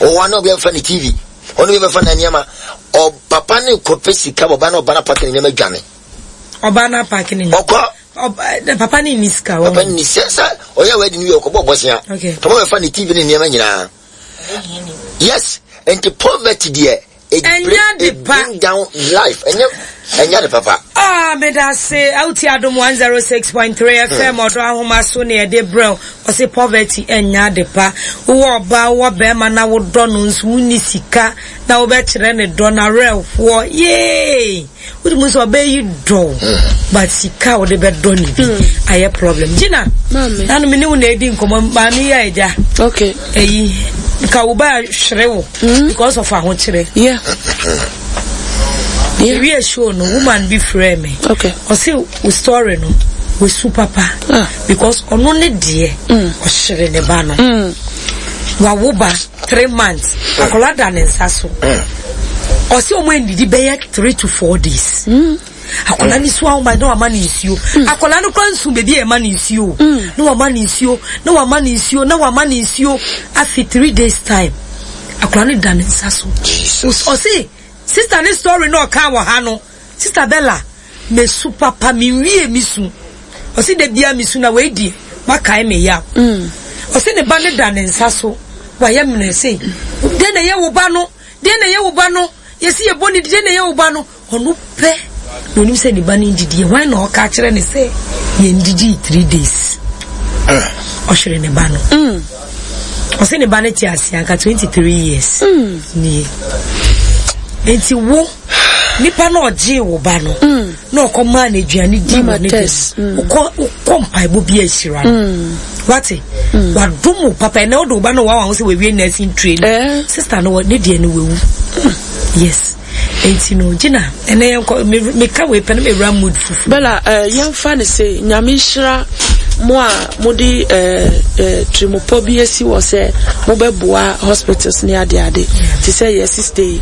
Ɔwɔ na obi afa ne TV, ɔno bi bɛfa ne nneɛma. Ɔpapa ne kɔpɛ sika, ɔba na ɔba na paki ne nneɛma dwane. Ɔba na paki ne nneɛma. Ɔkɔ. Ɔba papa ne ni sika. Papa ne ni sɛ sɛ ɔyɛ wɛdi no wie ɔkɔbɔ ɔbɔsia. Okay. Tɔmɔ bɛfa ne TV ne nneɛma nyinaa. Yes, nti poverty deɛ it bring, it bring down life. Ɛnyɛ ɛnyɛ de papa. Ah, meda se awuti adom 106.3 FM ɔdɔ ahoma so ne ɛde brɛ ɔse poverty ɛnyɛ ade pa. Wowɔ ɔbaa wowɔ bɛrima na wodɔ no nso wonni sika na wobɛkyerɛ ne dɔ na werɛhoɔ yee. Wode mu sɛ ɔbɛyi dɔ but sika a wode bɛdɔ ne bi ayɛ problem. Gina, nanu me ne wo na edi nkɔmmɔ maame yi a agya. Okay. Eyi nka wo ba hwere wo because of ahokyere. Yeah. Yeah. Ewie show no woman bi frɛ me. Okay. Ɔse wo story no wesu papa. Ah. Because ɔno ne deɛ ɔhyere ne ba no. Wawo ba 3 months. Akwadaa da ne nsa so. Ɔse ɔmo ndidi bɛyɛ 3 to 4 days. Akwadaa ni so ahoma na wama ne nsuo. Akwadaa no kora nsu beebi a ɛma ne nsuo. Na wama ne nsuo, na wama ne nsuo, na wama ne nsuo. Afi 3 days time, akwadaa no da ne nsa so. Ɔse sister ne story na ɔka wɔ ha no, Sister Bella, mesu papa, menwie me su. Ɔse da bia mesu na wei deɛ wakae me yaw. Ɔse ne ba no da ne nsa so, wayɛ mmerɛ sei. Deɛ na ɛyɛ wo ba no, deɛ na ɛyɛ wo ba no, yɛsi yɛbɔ ne di, deɛ na ɛyɛ wo ba no. Ɔno pɛ na onim sɛ ne ba no ndidi. Hwan na ɔka kyerɛ ne sɛ yɛndidi 3 days? Ɔhwere ne ba no. Ɔse ne ba no te ase anka 23 years nie. Nti wo nipa na ɔgyee wo ba no na ɔkɔ maa no aduane di wɔ ne dɛm wokɔ wokɔ mpaebɔ bi ahyira no wate wadom wo papa ɛnɛ wode wo ba no wawa ho sɛ wawie nursing training Eh. sister no wɔ- ne deɛ no wawu yes nti no gyina ɛnɛ yɛnkɔ meka wei pɛ no mewura mood fufuo. Bella, yɛmfa no sei, Nyame nhyira mo a mode tirimupɔ bi asi hɔ sɛ mobɛboa hospitals ne adeade te sɛ yɛ sister yi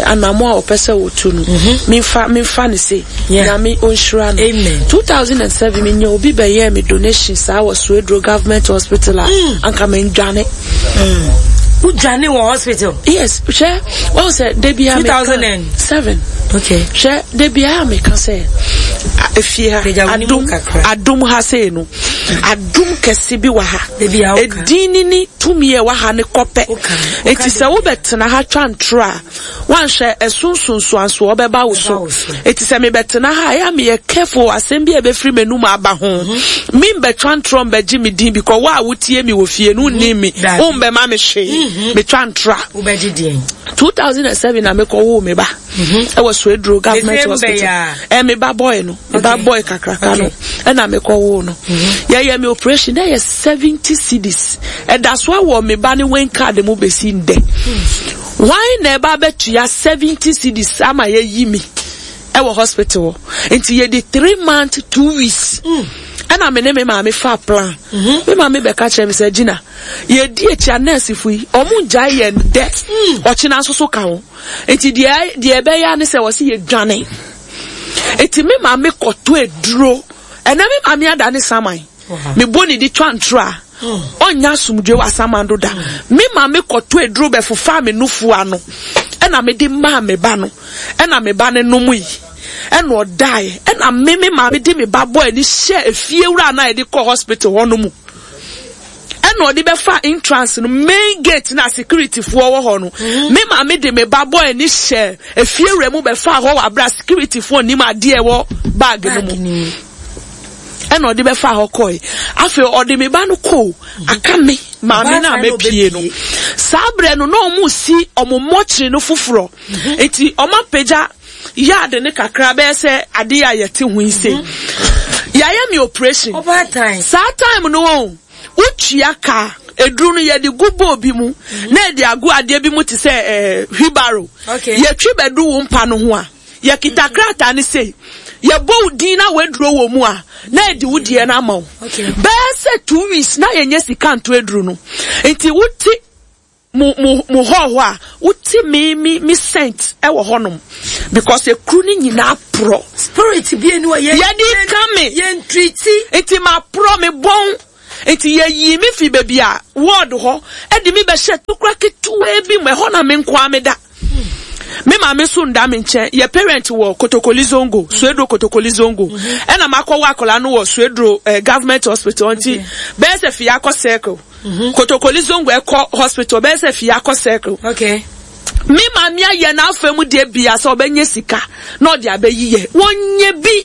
anamo a ɔpɛ sɛ wɔtu no memfa memfa no sei, Nyame ɔnhyira no. 2007 menya obi bɛyɛɛ me donation saa wɔ Sueduro Government Hospital a anka mendwane. Wodwane wɔ hospital? Yes, hwɛ, wɔn sɛ da biara meka 2007. Okay. Hwɛ, da biara meka sɛ efie ha adum adum ha sei no adum kɛse bi wɔ ha. Edin ni ni tumi a ɛwɔ ha ne kɔpɛ. Eti sɛ wobɛtena ha twa ntoro a, Woanhwɛ, ɛso nsunsuansoɔ bɛba wo so. Enti sɛ mebɛtena ha a, ɛyɛ a meyɛ careful wɔ asɛm bi a ɛbɛfiri m'anum aba ho. Membɛtwa ntorɔ mbɛgye me din because wo a wotie me wɔ fie no wonnim me, wombɛma me hwee. Metwa ntorɔ a. Wobɛgye deɛn? 2007 na mekɔwoo me ba ɛwɔ Swedru Government Hospital. Ɛ me ba boy no, me ba boy kakraka no, ɛna mekɔwoo no. Yɛyɛ me operation na ɛyɛ 70 cedis. Ɛda so wɔ me ba ne wen card mu bɛsi ndɛ. Hwan na ɛba abɛtua 70 cedis ama yɛayi me ɛwɔ hospital hɔ? Nti yɛdi 3 months 2 weeks ɛna me ne me maame fa plan. Me maame bɛka kyerɛ me sɛ Gina, yɛdi akyi a nurse fo yi ɔmo ngyae yɛn dɛ, ɔkyena nso so ka ho. Nti deɛ deɛ ɛbɛyɛ ne sɛ wɔsi yɛdwane. Nti me maame kɔtɔ aduro. Ɛnɛ me maame ada ne saman. Mebɔ ne di twa ntoro a, ɔnnya asomdwoe wɔ asamando da. Me maame kɔtɔ aduro bɛfofaa me nufu ano, ɛna mede maa me ba no, ɛna me ba no nomui, ɛna ɔdaeɛ, ɛna me me maame de me ba bɔɔ ani hyɛɛ efiewura no a yɛde kɔɔ hospital hɔ no mu. Ɛna ɔde bɛfa entrance no main gate na security foɔ wɔ hɔ no. Me maame de me ba bɔɔ ani hyɛɛ efiewura mu bɛfaa hɔ wɔ abere a security foɔ nim adeɛ ɛwɔ bag no mu. Ɛna ɔde bɛfaa hɔ kɔe. Afei ɔde me ba no kɔɔ aka me maame no a mepie no. Saa berɛ no na ɔmo si ɔmo mɔkyere no foforɔ. Nti ɔmo apagya yard ne kakra bɛyɛ sɛ adeɛ a yɛte ho yi sei. Yɛayɛ me operation. Saa time no wɔn wotua ka eduru no yɛde gu bowl bi mu na yɛde agu adeɛ bi mu te sɛ wheelbarrow. Yɛtwi bɛdu wo mpa no ho a, yɛkita krataa no sei, yɛbɔ wo din na w'aduro wɔ mu a, na yɛde wo deɛ no ama wo. Bɛyɛ sɛ 2 weeks na yɛnyɛ sika nto aduro no. Nti wote mo mo mo hall hɔ a, wote me me me scent ɛwɔ hɔnom because ekuru no nyinaa porɔ. Spirit bi eni hɔ yɛn Yɛde ka me. yɛn treati. Nti ma porɔ me bɔn. Nti yɛyii me fii baabi a ward hɔ de me bɛhyɛɛ tokura ketewaa bi mu, ɛhɔ na me nko ara meda. Me maame nso nda me nkyɛn. Yɛ parent wɔ Kotokoli Zongo, Sueduro Kotokoli Zongo. Ɛna makɔwo akwadaa no wɔ Sueduro eh, government hospital nti bɛyɛ sɛ fie akɔ circle. Kotokoli Zongo ɛkɔ hospital bɛyɛ sɛ fie akɔ circle. Okay. Me maame ayɛ n'afa mu deɛ bia sɛ ɔbɛnyɛ sika na ɔde abɛyi yɛ. Wɔnyɛ bi.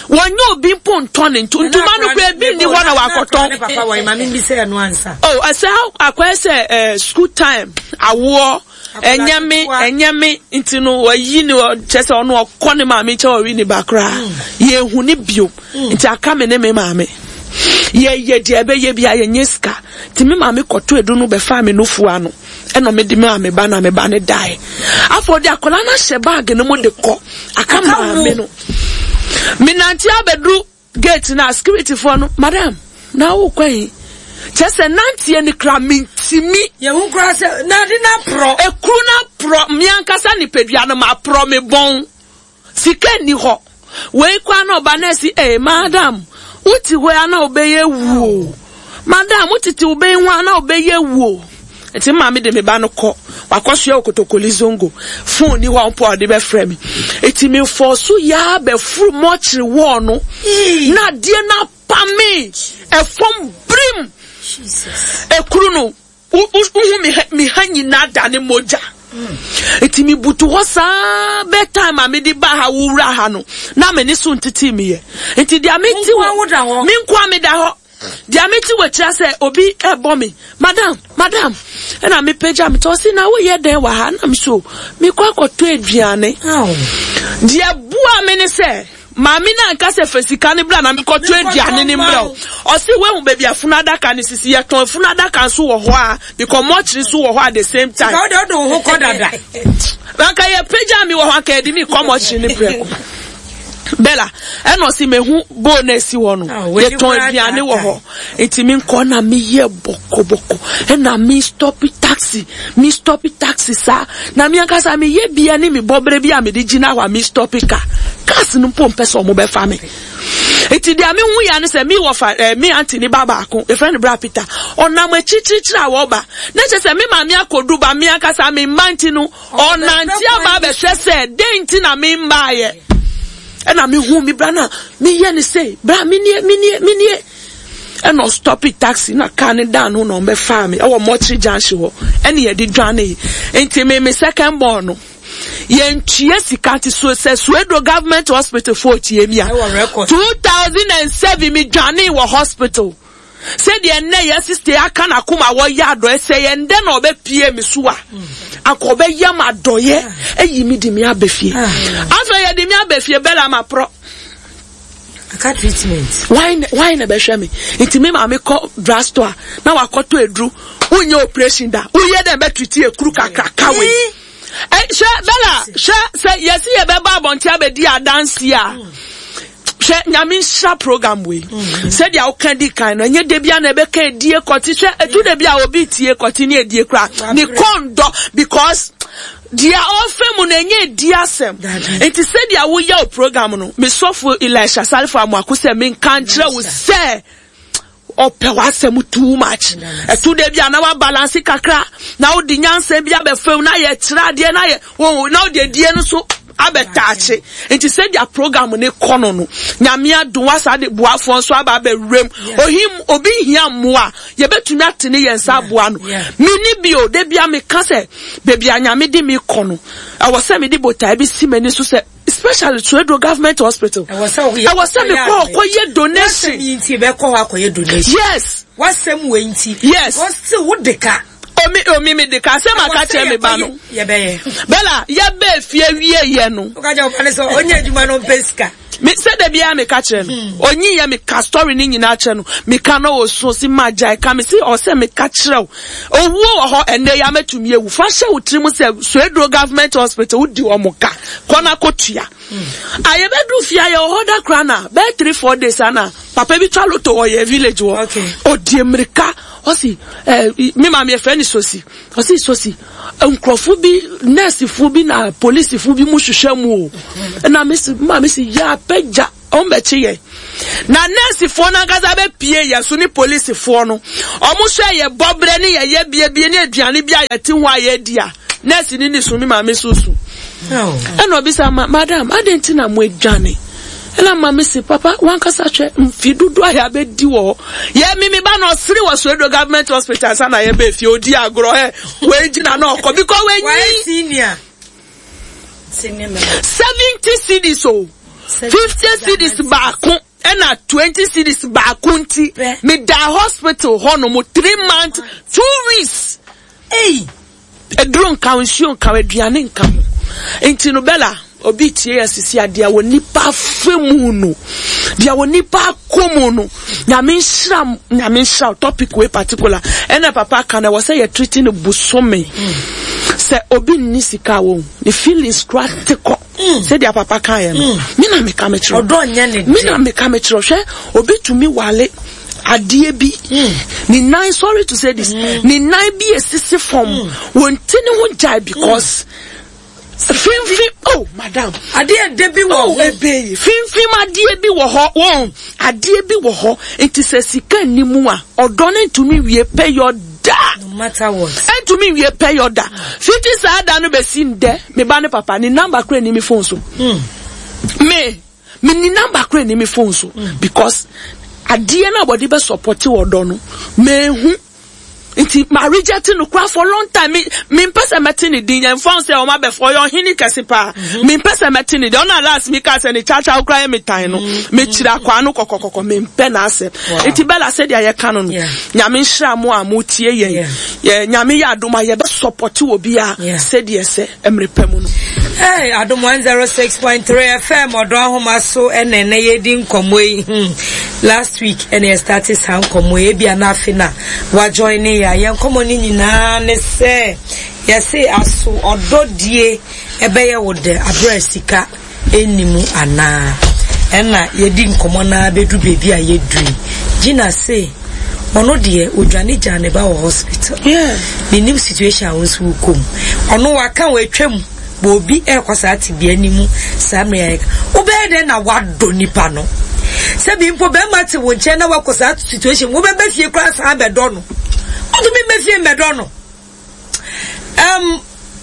Wɔnyɛ obi mpo ntɔ ne nto. Ntoma no koraa ebi nni hɔ na wakɔtɔn. Ne papa wɔ maame bi sɛ ɛno ansa. Oh, ɛsɛ akɔyɛ sɛ eh, school time awoɔ ɛnyɛ me ɛnyɛ me nti no wɔyi ne kyɛ sɛ ɔno ɔkɔ ne maame nkyɛn ɔwe ne ba koraa hmm. yɛnhu ne bio hmm. nti aka me ne me maame yɛyɛ deɛ ɛbɛyɛ bi a yɛnyɛ sika nti me maame kɔtɔ edu no bɛfa me nufu ano. Ɛna ɔmo de maa me ba na me ba no dae. Afei ɔde akwadaa no ahyɛ baage no mu de kɔ aka maame no. Menante abɛduru gate no a securityfoɔ no, madam, na wokɔ yi? Kyerɛ sɛ nanteɛ no kura mentimi. Yɛhu koraa sɛ na ade no aporɔ. Ekuru no aporɔ, me ankasa nipadua no maporɔ me bɔn. Sika nni hɔ. Wei koraa na ɔba na ɛsi ee madam wote hɔ yi a na wobɛyɛ wu o. Madam wotete wo bɛn ho a na wobɛyɛ wu o. Nti maame de me ba no kɔ. Wakɔsoɛ wɔ Kotokoli Zongo. Phone ni hɔ a mpo a ɔde bɛfrɛ me. Nti me fɔɔ so yaa bɛforo mɔkyere wɔɔ no. Na adeɛ no apame ɛfam birim. Ekuru no. Wohu me ha, me ha nyinaa da ne mogya. Nti me butu hɔ saa bɛ time a mede ba ha wowura ha no na me ne so ntete me yɛ. Nti deɛ mete wɔ me nkoa meda hɔ. Deɛ mete wɔ akyira sɛ obi ɛbɔ me madam madam ɛna mepagya me tɔ ɔsi na woyɛ dɛn wɔ ha na me so mekɔ akɔtɔ aduane. Deɛ boa me ne sɛ Maame no anka sɛ fa sika no bra na menkɔtɔ aduane no mbrɛ wo. Ɔse woahu baabi a funu adaka no sisi? Yɛtɔn funu adaka nso wɔ hɔ a, because mortuary nso wɔ hɔ at the same time. Sika wode wode wo ho kɔ dada. Anka yɛpagyaa me wɔ hɔ anka yɛde me kɔ mortuary no prɛko. Bella, ɛna ɔse mehu bowl no asi hɔ no, yɛtɔn aduane wɔ hɔ. Nti menkɔ na meyɛ bɔkɔbɔkɔ ɛna me stop taxi. Me stɔpi taxi saa na me ankasa me yɛ bia ne me bɔbrɛ bi a mede gyina hɔ a me stɔpi car. Cars no mpo mpɛ sɛ ɔmo bɛfa me. Nti deɛ me hu ya ne sɛ me wɔfa eh, me auntie ne ba baako yɛfrɛ no bra Peter ɔnam akyirikyirikyiri a wɔba na kyerɛ sɛ me maame akɔdu ba me ankasa me mma nti no ɔnante aba abɛhwɛ sɛ dɛn nti na me mmaayɛ ɛna me hu me bra na meyɛ ne sei bra menie menie menie Ɛna ɔstɔpe taxi na car no dan no na ɔmbɛfaa me ɛwɔ Mortuary junction hɔ ɛna yɛde dwanee. Nti me me second born no yɛntua sika nti so sɛ Suedro government hospital foɔ tie mi a 2007 me dwanee wɔ hospital sɛdeɛ nnɛ yɛ sista aka n'akoma wɔyɛ adɔɛ sɛ yɛn dɛ na ɔbɛpie me so a anka ɔbɛyɛ ma adɔyɛ ayi me de me abɛ fie afei yɛde me abɛ fie bɛla ma porɔ Aka treatment. Why why na bɛhwɛ me? Nti me maame kɔ drugstore na wakɔtɔ aduru. Wonyɛ operation da. Woyɛ dɛn bɛ treat ekuru kakraka wei. Eh, hwɛ Bella, hwɛ sɛ yɛsi yɛbɛba abɔnten abɛdi adanse a. Hwɛ nyame nhyira program wei. Sɛdeɛ woka di kan no, ɛnyɛ da bia na ɛbɛka edie kɔte. Hwɛ edu da bi a obi tie kɔte ne edie kora. Ne kɔn dɔ because Deɛ ɔrefa mu no ɛnyɛ edi asɛm. Nti sɛdeɛ woyɛ wo program no, me sɔfo Elisha Salifo Amoako sɛ menka nkyerɛ wo sɛ ɔpɛ w'asɛm too much. Ɛto da bi a na wabalanse kakra na wode nyansa bi abɛfam na yɛkyerɛ adeɛ na yɛ na wode adie no so abɛtaakye. Nti sɛdeɛ program no kɔ no no, Nyame adom wasa de boafoɔ nso aba abɛwuram. Ohim obi hia mmoa a, yɛbɛtumi atene yɛn nsa aboa no. Menni bio, da bia meka sɛ Baabi a Nyame de me kɔ no, ɛwɔ sɛ mede botae bi si m'ani so sɛ, especially Suedro Government Hospital. Ɛwɔ sɛ woyɛ Ɛwɔ sɛ mekɔ hɔ kɔyɛ donation. W'asɛm yi nti bɛkɔ hɔ akɔyɛ donation. Yes. W'asɛm wei nti. Yes. Because still wo de ka. Omi omi mi de ka sɛ ma ka kyerɛ me ba no. Yɛbɛyɛ. Bella yɛbɛɛ fie wie yɛ no. Woka kyerɛ wo ba no sɛ ɔnyɛ adwuma no ɔmpɛ sika. Me sɛ da biara meka kyerɛ no hmm. Onyi yɛ meka story ne nyinaa kyerɛ no meka na ɔsu ɔsi ma gyae ka me si ɔsɛ meka kyerɛ wo owuo wɔ hɔ ɛnɛ ya mɛtumi ewu fa hyɛ wo tirim sɛ Sueduro government hospital wodi wɔn ka kɔ na kɔ tua hmm. a yɛbɛduru fie a yɛwɔ hɔ da koraa na bɛyɛ 3 4 days ana papa bi twa loto wɔ yɛ village hɔ ɔdi mmirika ɔsi ɛɛ me maame yɛfrɛ ne sosi Ɔse sosi nkurɔfo bi nɛɛsefo bi na polisifo bi mu hwehwɛ mu o. Ɛna me se maa me se yɛ apɛgya wɔn bɛkye yɛ. Na nɛɛsefoɔ no ankasa bɛpie yɛ so ne polisifoɔ no. Ɔmo hwɛ yɛ bɔberɛ ne yɛ yɛbie ne aduane bi a yɛte ho a yɛdi a, nɛɛse no ni so, me maame so su. Ɛna ɔbisa ma, madam, adɛn nti na mo adwane? Ɛna maame se, papa, wankasa hwɛ mfe dodoɔ a yɛabɛdi wɔ hɔ. Yɛ me me ba na ɔsere wɔ Soedo Government Hospital ansa na yɛbɛɛ fie, ɔdi agorɔ ɛ, wei gyina na ɔkɔ because wanyi. 70 cedis o, 50 cedis baako ɛna 20 cedis baako nti, medaa hospital hɔ nom 3 months, 2 weeks. Ei! Aduro nka ho, nsuo nka ho, aduane nka ho. Nti no Bella, obi tie yɛ sisi a, deɛ wɔ nipa afa mu no, deɛ wɔ nipa akɔ mu no, nyame nhyira, nyame nhyira topic wei particular. Ɛna papa ka no, ɛwɔ sɛ yɛ treat no bosome. Sɛ obi nni sika a wɔn, ne feelings kora te kɔ. Sɛdeɛ papa kaeɛ no, me na meka mekyerɛ. Ɔdɔ nyɛ ne Me na meka mekyerɛ. Hwɛ, obi tumi wale adeɛ bi mm. ne nan sorry to say this mm. ne nan bi esisi fam mm. wɔn ti ne ho gyae because finfin oh madam adeɛ de bi wɔ oh ebe yi finfin adeɛ bi wɔ hɔ wɔn adeɛ bi wɔ hɔ nti sɛ sika nni mu a ɔdɔ ne ntumi wie pɛ yɔ da no matter what ntumi wie pɛ yɔ da fiti saa da no bɛsi ndɛ me ba ne papa ne number kura ni mi phone so me. Me ni number kora ni me phone so because adeɛ no a wɔde bɛ support ɔdɔ no mehu nti ma reject no kora for long time me me mpɛ sɛ mɛte ne din yɛn fɔn sɛ ɔmo abɛfo ɔyɛ ɔhene kɛse paa mhm. me mpɛ sɛ mɛte ne din ɔno last mi ka sɛ ne kyakya kora yɛ me tan no mhm. me kyerɛ akwa ano kɔkɔkɔkɔ me mpɛ n'asɛm nti bɛla sɛ deɛ yɛka no no nyame nhyira mo a mo tie yɛn yɛ nyame yɛ adom a yɛbɛ support wɔ bi a sɛdeɛ sɛ mmere pa mu no. Hey, Adom 106.3 FM ɔdɔ ahoma so ɛna ɛnɛ yɛdi nkɔmmɔ yi. Hmm. Last week ɛna yɛ start saa nkɔmmɔ yi ebia na afe na wajoin ne yɛ a yɛn nkɔmmɔ no nyinaa ne sɛ yɛse aso ɔdɔ die ɛbɛyɛ wo dɛ aberɛ sika nni mu anaa? Ɛna yɛdi nkɔmmɔ no ara bɛduru baabi a yɛduru yi. Gina se ɔno deɛ ɔdwane gyaa ne ba wɔ hospital. Menim situation a wo nso wokɔ mu. Ɔno waka watwa mu bɔ obi ɛrekɔ saa tebea no mu saa mmerɛ a yɛka. Wobɛyɛ dɛn na wadɔ nipa no? Sɛ bi mpo bɛrima te wo nkyɛn na wakɔ saa situation wobɛba fie koraa san bɛdɔ no. Wontumi mmɛ fie mmɛdɔ no. Um,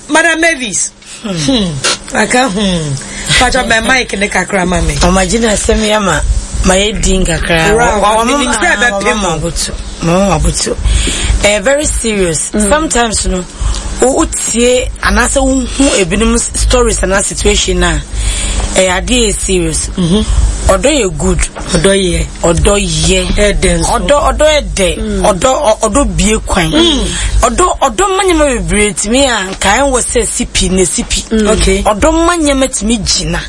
Madam Mavis. Hmm. Aka hmm. Pacho me mic ne kakra ma me. Mama Gina asɛm ya ma ma yɛ din kakra. Menim sɛ ɛbɛpem mo. Mama mabutu. Eh, very serious. Mm. Sometimes no, wotie anaasɛ wohu ebinom stories anaa situation a ɛyɛ adeɛ yɛ serious. Mm-hmm. Ɔdɔ yɛ good. Ɔdɔ yɛ. Ɔdɔ yɛ. Ɛdɛ nso. Ɔdɔ ɔdɔ ɛdɛ. Mm. Ɔdɔ ɔdɔ bie kwan. Mm. Ɔdɔ ɔdɔ ma nneɛma bebree tumi a nka ɛnwɔ sɛ sipi na sipi. Mm. Okay. Ɔdɔ ma nneɛma tumi gyina.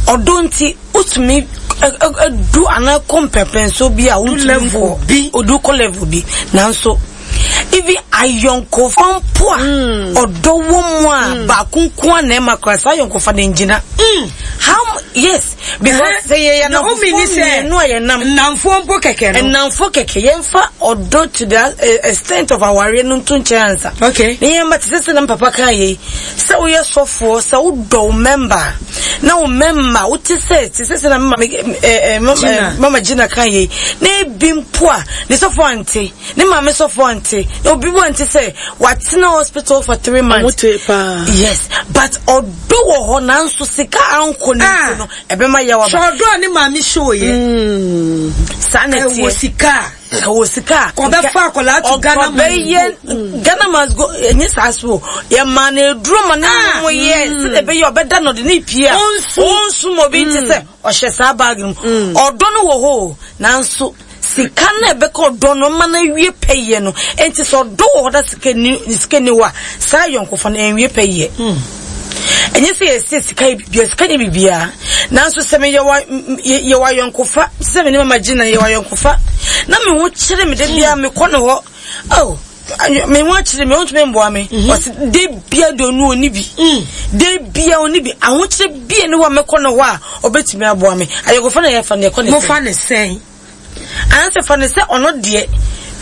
Ɔdɔ nti wotumi du anaa kɔ mpɛmpɛnso bi a wotumi nkɔ bi. Odu kɔ level bi nanso even ayɔnkofa mpo a ɔdɔ wɔ mu a baako nko a na ɛma koraa saa ayɔnkofa no ngyina. How yes because sɛ yɛyɛ nnamfoɔ mmienu a yɛnam nnamfoɔ mpo kɛkɛ no nnamfoɔ kɛkɛ yɛmfa ɔdɔ to the eh, extent of awareɛ no nto nkyɛn ansa. Okay. Ne yɛn ba te sɛ sɛ na papa kaa yei sɛ woyɛ sɔfoɔ sɛ wodɔ wo mɛmba na wo mɛmba wote sɛ te sɛ sɛ na mama eh, eh, mama Gina kaa yei na ebi mpo a ne sɔfoɔ ante Ne maame sɔfo ante. Na obi bo ante sɛ watena hospital for three months. Ɔmo te paa. Yes, but ɔdɔ wɔ hɔ nanso sika ankɔ ne nti no ɛbɛma yaw aba. Sɛ ɔdɔ a ne maame show yɛ. Saa na ɛteɛ. Ɛwɔ sika a. Ɛwɔ sika a. Kɔbɛfa akwadaa to Ghana must go. Ɔkɔbɛyɛ Ghana must go ɛnyɛ saa so. Yɛ maa no aduro ma ne mo yɛ sɛdeɛ ɛbɛyɛ ɔbɛda no ɔde ne pie a. Ɔnsu. Ɔnsu ma obi nte sɛ ɔhyɛ saa bag no mu. Ɔdɔ no wɔ hɔ o nanso. Sika no a ɛbɛka ɔdɔ no ma no awie pɛyɛ no. Enti sɛ ɔdɔ wɔ hɔ na sika ni sika ni hɔ a, saa ayɔnkofa no ɛnwie pɛyɛ. Ɛnyɛ sɛ yɛsɛ sika yɛ biribiara, sika nyɛ biribiara. Nanso sɛ meyɛ wa yɛ wɔ ayɔnkofa, sɛ me ne mama Gina yɛ wɔ ayɔnkofa, na me ho kyere me da biara mekɔ ne hɔ, oh, me ho akyere me, ɔntumi mboa me. Ɔse da biara deɛ ɔno ɔni bi. Da biara ɔni bi. Ahokyere bia ne hɔ a mɛkɔ ne hɔ a ɔbɛtumi aboa me. Ayɔnkofa na yɛfa no yɛkɔ ne sɛn? Mofa ne sɛn? Anaasɛ fa no sɛ ɔno deɛ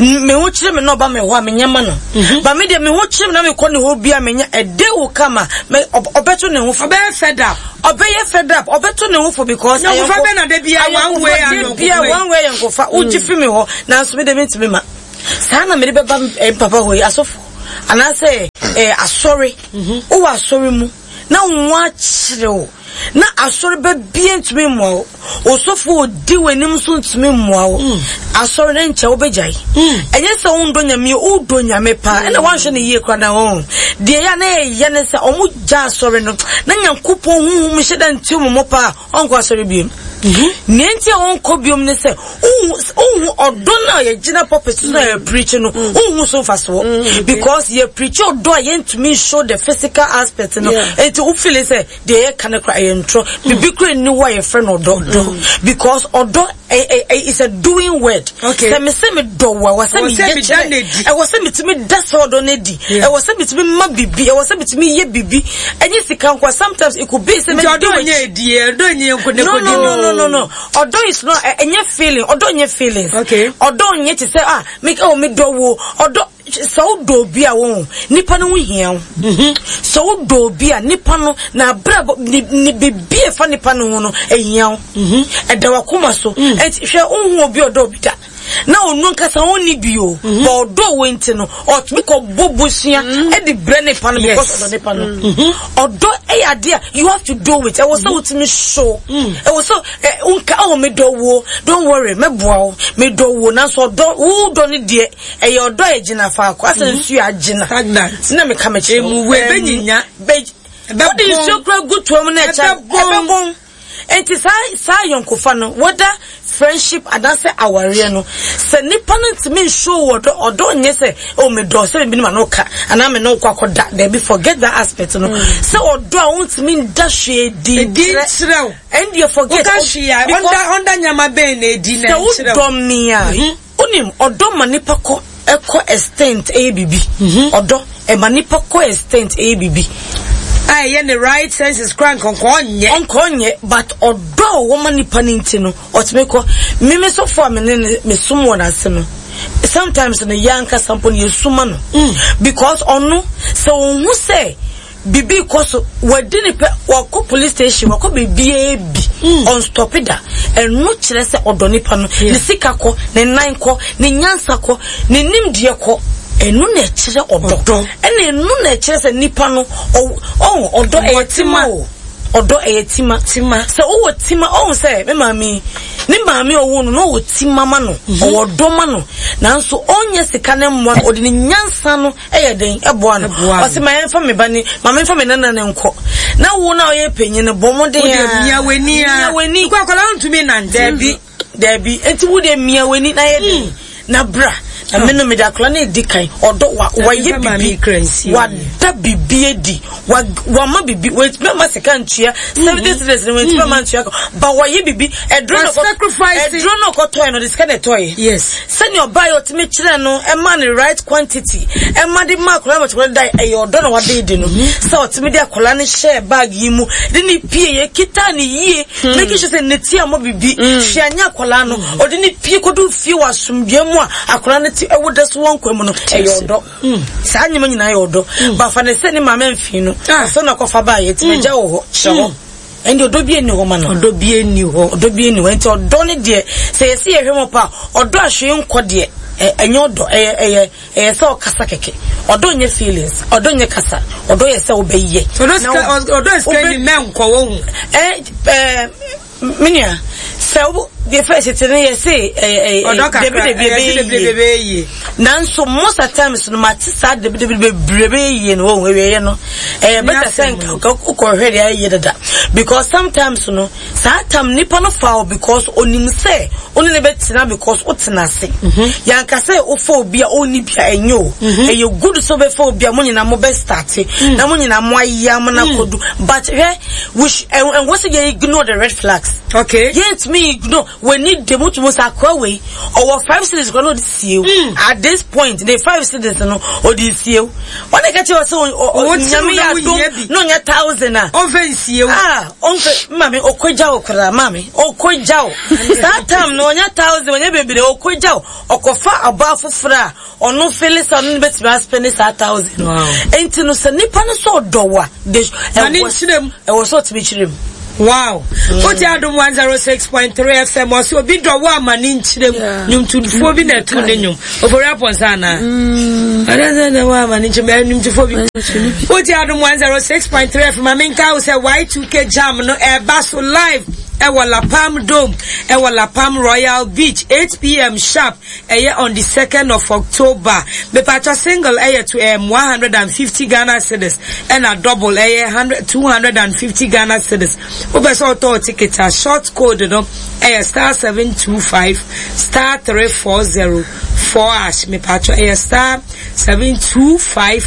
Me ho kyerɛ me na ɔba me hɔ a menyɛ ma no. Mhm. Ba me deɛ me ho kyerɛ me na mekɔ ne hɔ bi a menya a day will come a ɔbɛto ne ho fo. Ɔbɛyɛ fed up. Ɔbɛyɛ fed up. Ɔbɛto ne ho fo because ayɔnko bɛ na de bia one way ayɔnko bia one way ayɔnkofa. Wogye mm. fi me hɔ nanso me de mentumi ma. Saa na mede bɛba eh, papa hɔ yi asɔfo anaasɛ eh, asɔre. Mhm. Wowɔ asɔre mu na wo ho akyere wo. Na asɔre ba bia ntumi mmoa wo. Osɔfo a odi w'anim nso ntumi mmoa wo. Mm. Asɔre no nkyɛ wobɛgyae. Mm. Ɛnyɛ sɛ wondɔ Nyame, wodɔ Nyame paa. Ɛna woanhwɛ no yie koraa na wɔn. Deɛ ɛyɛ a na ɛyɛ ne sɛ wɔn gya asɔre no na Nyankopɔn honhom hyɛ da nti wɔn mo paa ɔnkɔ asɔre biom. Mm-hmm. Nea nti a ɔnkɔ biom ne sɛ wohu ɔdɔ no a yɛgyina pulpit so na yɛpreach no mm. wohu so mfasoɔ mm, because yɛpreach ɔdɔ a yɛntumi show the physical aspect no nti wofili sɛ Deɛ yɛka no kora ɛyɛ ntorɔ. Biribi kora nni hɔ a yɛfrɛ no ɔdɔ. Mm. Because ɔdɔ is a doing word. Okay. Sɛ me sɛ me dɔ wo a, ɛwɔ sɛ me yɛ kyerɛ. Ɛwɔ sɛ metumi da sɛ ɔdɔ no adi. Ɛwɔ sɛ metumi ma biribi. Ɛwɔ sɛ metumi yɛ biribi. Ɛnyɛ sika nko sometimes it could be sɛ me di ɔdɔ nyɛ edi ɔdɔ nyɛ nko ne ko di. No no no no no. Ɔdɔ is not ɛnyɛ feeling. Ɔdɔ nyɛ feelings. Okay. Ɔdɔ nyɛ te sɛ ah me oh me dɔ wo. Ɔdɔ Sɛ wodɔ obi a wohu nipa no ho hia wo. Mhm. Sɛ wodɔ obi a nipa no n'abrabɔ ne ne biribi a ɛfa nipa no ho no ehia wo. Mhm. Ɛda w'akoma so. Mm. Enti hwɛ wohu obi a ɔdɔ obi da. Na ɔno ankasa ɔnni bi o. Mhm. But ɔdɔ wo nti no ɔtumi kɔ bɔ bosea ɛde brɛ nipa no because ɔdɔ nipa no. Ɔdɔ ɛyɛ adeɛ a you have to do it. Ɛwɔ sɛ wotumi show. Mm. Ɛwɔ sɛ nka oh medɔ wo don't worry mɛboa wo medɔ wo nanso ɔdɔ wo dɔ no deɛ Ɛyɛ ɔdɔ a egyina faako asɛ mhm. nsuo agyina. Stagnant. Na meka mekyerɛ. Emu wo ebenyinya. Wode nsuo kura gu toa mu na ɛkyɛ ɛbɛbɔn. Nti saa saa ayɔnkofa no whether friendship anaasɛ awareɛ no sɛ nipa no ntumi nsuo wɔ ɔdɔ ɔdɔ nyɛ sɛ oh medɔ sɛ mebi ne ma no ka anaa me ne wokɔ akɔda daabi forget that aspect no mm. sɛ ɔdɔ a wontumi nda hwee di nkyerɛ ɛndeɛ forget woka hwee a ɔnda ɔnda nyama bɛn na edi na nkyerɛ sɛ wodɔ me a mhm. Wonim, ɔdɔ ma nipa kɔ kɔ extent ɛyɛ biribi. Mhm. Ɔdɔ ɛma nipa kɔ extent ɛyɛ biribi. A ɛyɛ ne right senses kora nkɔnkɔ ɔnyɛ. Ɔnkɔ ɔnyɛ but ɔdɔ a ɔwɔ ma nipa no nti no ɔtumi kɔ. Mimi sɔfo a me ne ne me som wɔ n'ase no sometimes no yɛ ankasa mpo no yɛ suma no. Mm. Because ɔno sɛ ɔhu sɛ Biribi rekɔ so, wadi ne pɛ, wakɔ police station, wakɔ baabiara bi, mm. ɔnstɔpe da. Ɛno kyerɛ sɛ ɔdɔ nipa no. Ne sika kɔ, ne nan kɔ, ne nyansa kɔ, ne nimdeɛ kɔ. Ɛno na ɛkyerɛ ɔdɔ. Ɛna ɛno na ɛkyerɛ sɛ nipa no, ɔwɔ ɔdɔ ɛyɛ tima o. Ɔdɔ ɛyɛ tima. Tima. Sɛ wowɔ tima, ɔhu sɛ me maame ne maame ɔwɔ no na ɔwɔ tima ma no, mhm. ɔwɔ dɔ ma no. Nanso ɔnyɛ sika ne mmoa no, ɔde ne nyansa no ɛyɛ den ɛboa no ɔsɛ ma yɛnfa me ba ne ma menfa me nana ne nkɔ na wo na ɔyɛ panyin no bɔ mmɔden a mia w'ani a mia w'ani kɔ akwadaa ntumi nante daabi daabi nti wo deɛ mia w'ani na yɛ den hmm. na bra na me no mede akwadaa no edi kan ɔdɔ wa wayɛ bibi wada bibi adi wa wama bibi wetumi ama sika ntua hmm. 70 cedis no wetumi ama ntua ba wayɛ bibi ɛduro na ɛduro na ɔkɔtɔɛ no de sika na ɛtɔɛ yes Sɛnea ɔbaa yi ɔtumi kyerɛɛ no ɛmaa no right quantity ɛma de maa akwadaa no ma akwadaa no dae ɛyɛ ɔdɔ na wada adi no sɛ ɔtumi de akwadaa no hyɛɛ bag yi mu de ne pie yɛ kita ne yie hmm. making sure sɛ ne ti ammɔ bibi hmm. hwɛ anyɛ akwadaa no hmm. ɔde ne pie kɔdu fie wɔ asomdwoe mu a akwadaa no ti ɛwo da so wɔ nkwa mu no ɛyɛ ɔdɔ saa nneɛma nyinaa yɛ ɔdɔ bafa ne sɛ ne maame mfii no ah. sɛ na kɔfa baa yɛ ti agya wɔ hɔ hyɛ hɔ. Ɛnde ɔdɔ bi nni hɔ ma no. Ɔdɔ bi nni hɔ. Ɔdɔ bi nni hɔ. Nti ɔdɔ no deɛ, sɛ yɛsi yɛhwɛ mu pa, ɔdɔ a hwee nkɔ deɛ, ɛnyɛ ɔdɔ. Ɛyɛ ɛyɛ ɛyɛ sɛ ɔkasa kɛkɛ. Ɔdɔ nyɛ feelings. Ɔdɔ nyɛ kasa. Ɔdɔ yɛ sɛ wobɛyɛ. Ɔdɔ sika ɔdɔ sika ni mɛ nkɔ wɔ ho. Ɛ ɛ me nua sɛ wo deɛ fɛ tete no yɛ se ɛɛ ɛɛ debi debi ɛbɛyɛ yie. Nanso most of times no mate saa debi debi bebree bɛyɛ yie no wɔn awieɛ no ɛyɛ better sɛ nka wokɔhwɛ deɛ ayɛ yie dada because sometimes no saa tam nipa no fa wo because onim sɛ wo ne no bɛtena because wotena ase mhm. yɛanka sɛ wofa obi a ɔnni bi a ɛnyɛ o mhm. ɛyɛ good sɛ wobɛfa obi a mo nyinaa mobɛ starte mm. na mo nyinaa mo ayɛ mo no akɔdu but hwɛ ɛnwɔ sɛ yɛ ignore the red flags. Okay. Yɛntumi ignore w'ani de mu tumi sɛ akoa wei ɔwɔ 5 cedis koraa na ɔde sie wo. At this point ne 5 cedis no ɔde sie wo. Wɔn na ɛka kyerɛ sɛ Nyame yɛ adom na ɔnya 1000 a. Ɔmfa nsie wo. Ah, ɔmfa maame ɔkɔgya wo koraa maame ɔkɔgya wo. Saa time no ɔnya 1000 ɔnya bebree ɔkɔgya wo ɔkɔfa ɔbaa foforɔ a ɔno fele sɛ ɔno no bɛtumi aspɛne saa 1000 no. Enti no sɛ nipa no sɛ ɔdɔ wo a ɛwɔ sɛ ɔtumi kyerɛ mu. Wow. Wote Adom 106.3 FM ɔsɛ obi dɔ wo ama ne nkyerɛ mu. Nnwomtofoɔ bi na ɛto ne nnwom. Ofori Apɔnsa anaa? Ɔdɛ sɛ wo ama ne nkyerɛ mu nnwomtofoɔ bi. Wote Adom 106.3 FM ma menka wo sɛ Y2K Jam no ɛba so live ɛwɔ La Palm Dome ɛwɔ La Palm Royal Beach 8pm sharp ɛyɛ on the 2nd of October. Mepatwa single ɛyɛ to 150 Ghana cedis ɛna double ɛyɛ 100 250 Ghana cedis. Wopɛ sɛ ɔtɔ ticket a short code no ɛyɛ star 725 star 340 4 hash. Mepatwa ɛyɛ star 725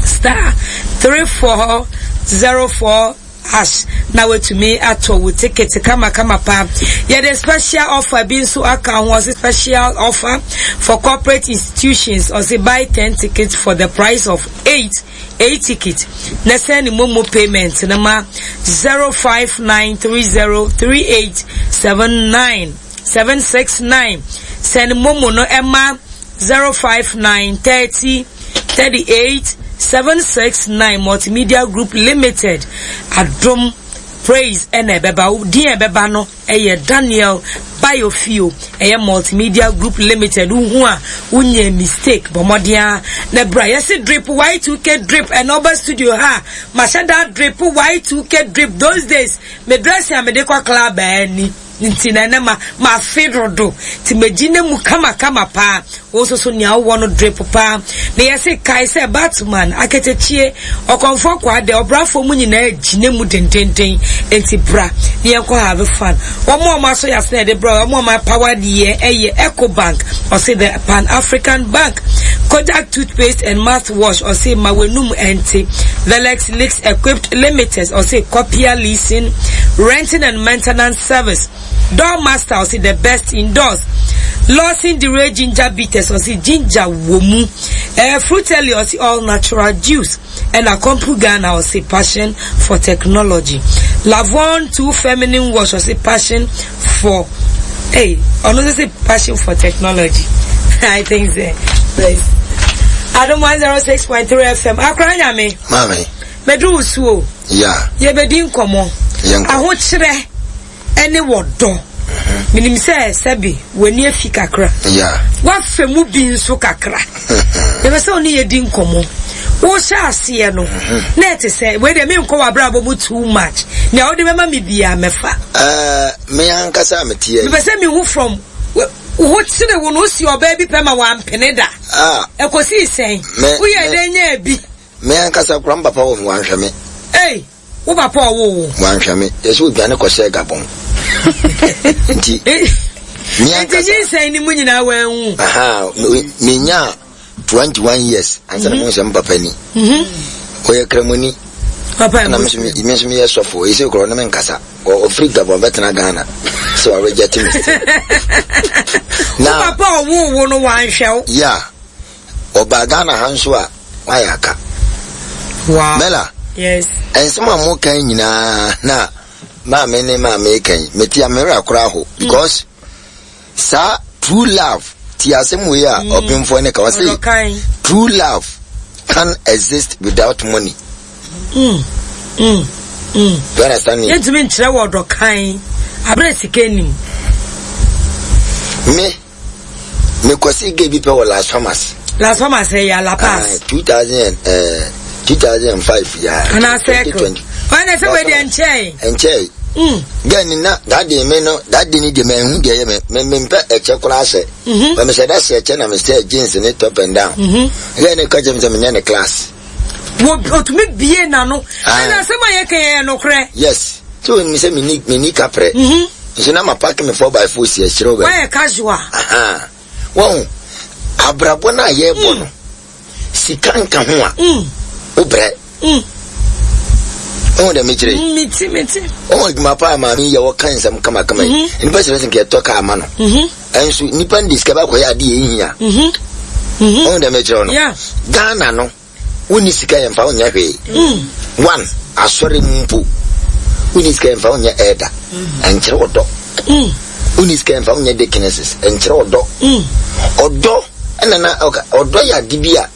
star 3404 hash na watumi atɔ wo ticket kama kama paa. Yɛde special offer bi nso aka ho, ɔse special offer for corporate institutions, ɔse buy 10 tickets for the price of 8 8 ticket na send ne momo payment no ma 0593038797 769 send momo no ɛma 059 30 38 769 Multimedia Group Limited Adom Praise ɛna ɛbɛba din a ɛbɛba no ɛyɛ Daniel Bayofio ɛyɛ Multimedia Group Limited wohu a wonyɛ mistake bɔ mmɔden a na bra yɛse drip Y2K drip ɛna ɔba studio ha mahyɛ da drip Y2K drip those days me dressing a mede kɔ club ani Nti na ɛnɛ ma mafe dodo nti magyina mu kamakama paa. Wo nso so nea wowɔ no drip paa. Na yɛse kae sɛ Batman, Aketekyie, Ɔkɔmfoɔ Kwaadɛ, ɔbrafoɔ mu nyinaa gyina mu dendenden. Nti bra na yɛnkɔ have fun. Wɔn a wɔasɔ yɛn ase na yɛde brɛ wo, wɔn a wɔapower yɛn ɛyɛ Ecobank, ɔse the Pan African Bank, Kodak toothpaste and mouthwash, ɔse ma w'anum ɛnte, Velex Leaks Equipped Limited, ɔse copier leasing, renting and maintenance service, Door Master, ɔse the best indoors, Lawson Dere Ginger Bitters, ɔse ginger wɔ mu, eh, Fruitelli, ɔse all natural juice, ɛna Compu Ghana, ɔse passion for technology, Lavon 2 Feminine Wash, ɔse passion for, hey, ɔno nso se passion for technology. I think so. Please. Adom 106.3 FM. Akora nyame. Mami. Medu wo so o. Yeah. Yɛbɛdi nkɔmmɔ. Yɛnkɔ. Ahokyerɛ ɛne wɔdɔ. Menim sɛ sɛbi w'ani afi kakra. Yeah. W'afa mu bi nso kakra. Yɛpɛ sɛ wo ne yɛdi nkɔmmɔ. Wohyɛ aseɛ no, na ɛte sɛ wei deɛ menkɔ w'abrabɔ mu too much. Nea wode bɛma me biara mɛfa. Ɛɛ, me ankasa a meteɛ yi. Mepɛ sɛ mehu from wo ho kyere wo no, wosi ɔbaa bi pɛ ma wampene da. Ah. Ɛkɔsii sɛn? Woyɛɛ dɛn nyaa bi? Me ankasa koraa, me papa wɔ me, wanhwɛ me. Ei, wo papa ɔwoo wo? Wanhwɛ me. Yɛsɛ odwane kɔhyɛɛ Gabon. Nti, me ankasa. Nti nyinsɛn no mu nyinaa wanwu? Aha, menyaa 21 years ansa na mehu sɛ me papa ni. Ɔyɛ Kramoni. Papa Ɛna me nso me nso meyɛ sɔfo. Ɛsɛ koraa ɔne me nkasa. Ɔfiri Gabon bɛtena Ghana. Sɛ ɔreject me. Na wo papa ɔwoo wo no wanhwɛ wo? Yeah. Ɔbaa Ghana ha nso a, wayɛ aka. Wow. Mela. Yes. Nsɛm a mo kan nyinaa na maame ne maame kan yi, mete a me werɛ akora ho because saa true love ti asɛm wei a ɔpemfoɔ ne ka ɔse true love can exist without money. Mm. Mm. Mm. Do you understand me? Yɛntumi nkyerɛ wɔ ɔdɔ kan abere sika nim. Me Mekɔsii gay bi pɛ wɔ Las Palmas. Las Palmas ɛyɛ La Paz. 2000 eh, 2005 ya. Ana circle. Ɔyɛ na sɛ wei deɛ nkyɛe. Nkyɛe. Mm. Gay ni na that day me no that day ni deɛ mɛ nhu deɛ yɛ me me me mpɛ ɛkyɛ koraa hyɛ. Mm-hmm. Mɛ mehyɛ da hyɛ ɛkyɛ na me hyɛ jeans ne top and down. Mm-hmm. Gay ni ka kyerɛ me sɛ menyɛ ne class. Wɔ otumi bie n'ano. Ɛna asɛm a yɛka yɛ nokorɛ. Yes. So onim sɛ menni menni kaprɛ. Nso na mapake me 4x4 si akyire wɔ baabi. Woayɛ casual. Ahaa. Wahu, abrabɔ no a yɛrebɔ no, sika nka ho a, wobrɛ. Ɔhu dɛ mekyerɛ yi. Mete mete. Ɔhu adwuma pa a maame yi yɛ wɔka nsɛm kamakama yi. Mhm. Nipa sɛ sɛ nkɛtɔ kaa ma no. Mhm. Ɛnso nipa no de sika bɛkɔyɛ ade yɛ nhia. Mhm. Ɔhu dɛ mekyerɛ no. Ghana no wonni sika yɛmfa wonyɛ hwee. Mm. One asɔre mu mpo wonni sika yɛmfa wonyɛ ɛɛda. Ɛnkyerɛ ɔdɔ. Mm. Wonni sika yɛmfa wonyɛ deaconesses. Ɛnkyerɛ ɔdɔ. Ɔdɔ ɛna na ɔdɔ yɛ ade bi a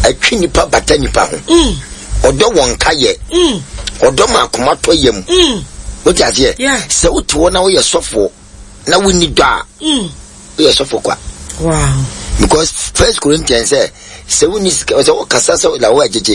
ɛtwe nipa bata nipa ho. Mm. Ɔdɔ wɔn ka yɛ. Mm. Ɔdɔ ma akoma tɔ yam. Mm. Wote aseɛ? Sɛ wote hɔ na woyɛ sɔfoɔ na wonni dɔ a, woyɛ sɔfo kwa. Wow. Because First Corinthians sɛ sɛ wonni sika sɛ wokasa sɛ na wo agyegye.